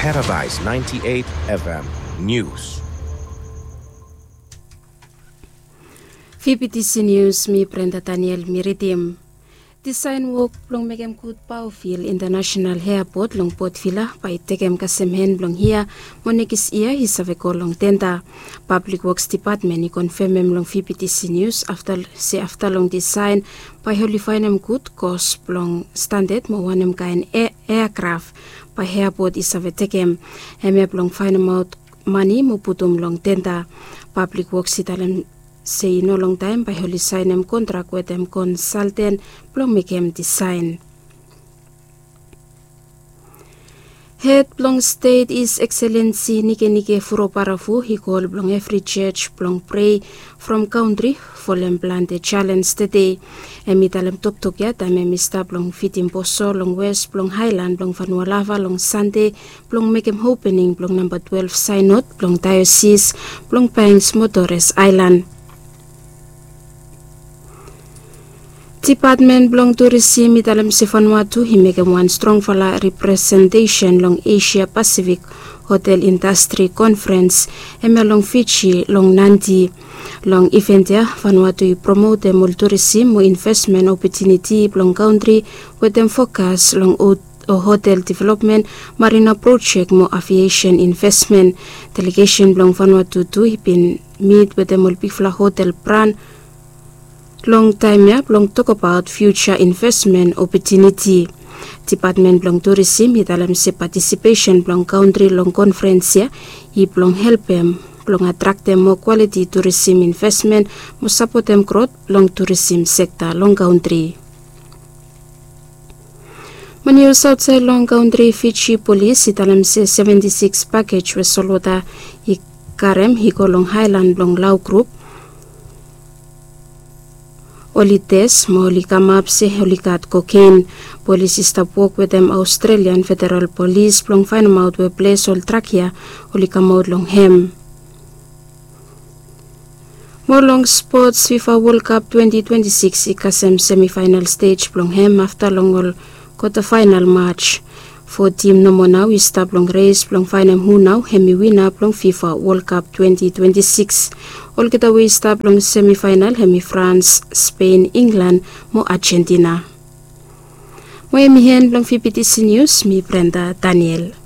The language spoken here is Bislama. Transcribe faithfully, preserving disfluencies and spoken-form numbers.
Paradise ninety-eight F M News. Fifty C News, mi Brenda Daniel mi ridim. Disaen wok blong mekem gud Baufil International Airport long Port Vila bae i tekem kasem hen blong hia mo nekis yia i save go long tenda. Pablik Woks Dipatmen i konfemem long Fifty C News afta se afta long disaen bae oli faenem gud kos blong standad mo wanem kaen e- eakraf bae eapot i save tekem. Hemia blong faenemaot mane mo putum long tenda. Pablik Woks i talem se i no longtaem bae oli saenem kontrak wetem konsalten blong mekem disaen. Hed blong stet His Excellency Nikenike Vurobaravu i kol blong evri jos blong prei from kaontri folem plante jalens tede. Hem i talem toktok ya taem hem i stap long fidim boso long wes blong haelan blong Vanua Lava long Sande blong mekem opening blong namba twelef saenod blong daeosis blong Banks mo Torres Aelan. Dipatmen blong turisim i talem se Vanuatu i mekem wan strongfala representesen long Esia Pasifik Hotel Indastri Konferens, hemia long Fiji long Nadi. Long iven ya Vanuatu i promotem ol turisim mo invesmen opotuniti blong kaontri wetem fokas long ot- o hotel developmen, marina projek mo aviesen invesmen. Delegesen blong Vanuatu tu i bin mit wetem ol bigfala hotel bran long taem ya blong tokbaot fiuja invesmen opotuniti. Dipatmen blong turisim i talem se patisipesen blong kaontri long konferens ya i blong helpem blong atraktem moa kwaliti turisim invesmen mo sapotem grot long turisim sekta long kaontri. Mo nius aotsaed long kaontri, Fiji Polis i talem se seventi sikis pakej we solwota i karem i go long haelan blong Lau grup oli tes mo oli kamap se oli gat koken. Polis i stap wok wetem Australian Federal Polis blong faenemaot we ples ol drak ya oli kamaot long hem. Mo long spots, FIFA World Cup twenti twenti sikis i kasem semifaenal stej blong hem afta long ol kwatafaenal maj. Fo tim nomo nao i stap long res blong faenem hu nao hem i wina blong FIFA World Cup twenti twenti sikis. Olgeta we i stap long semifaenal hem i Frans, Spen, Inglan mo Ajentina. Mo hem i hen blong Fifty C News, mi Brenda Daniel.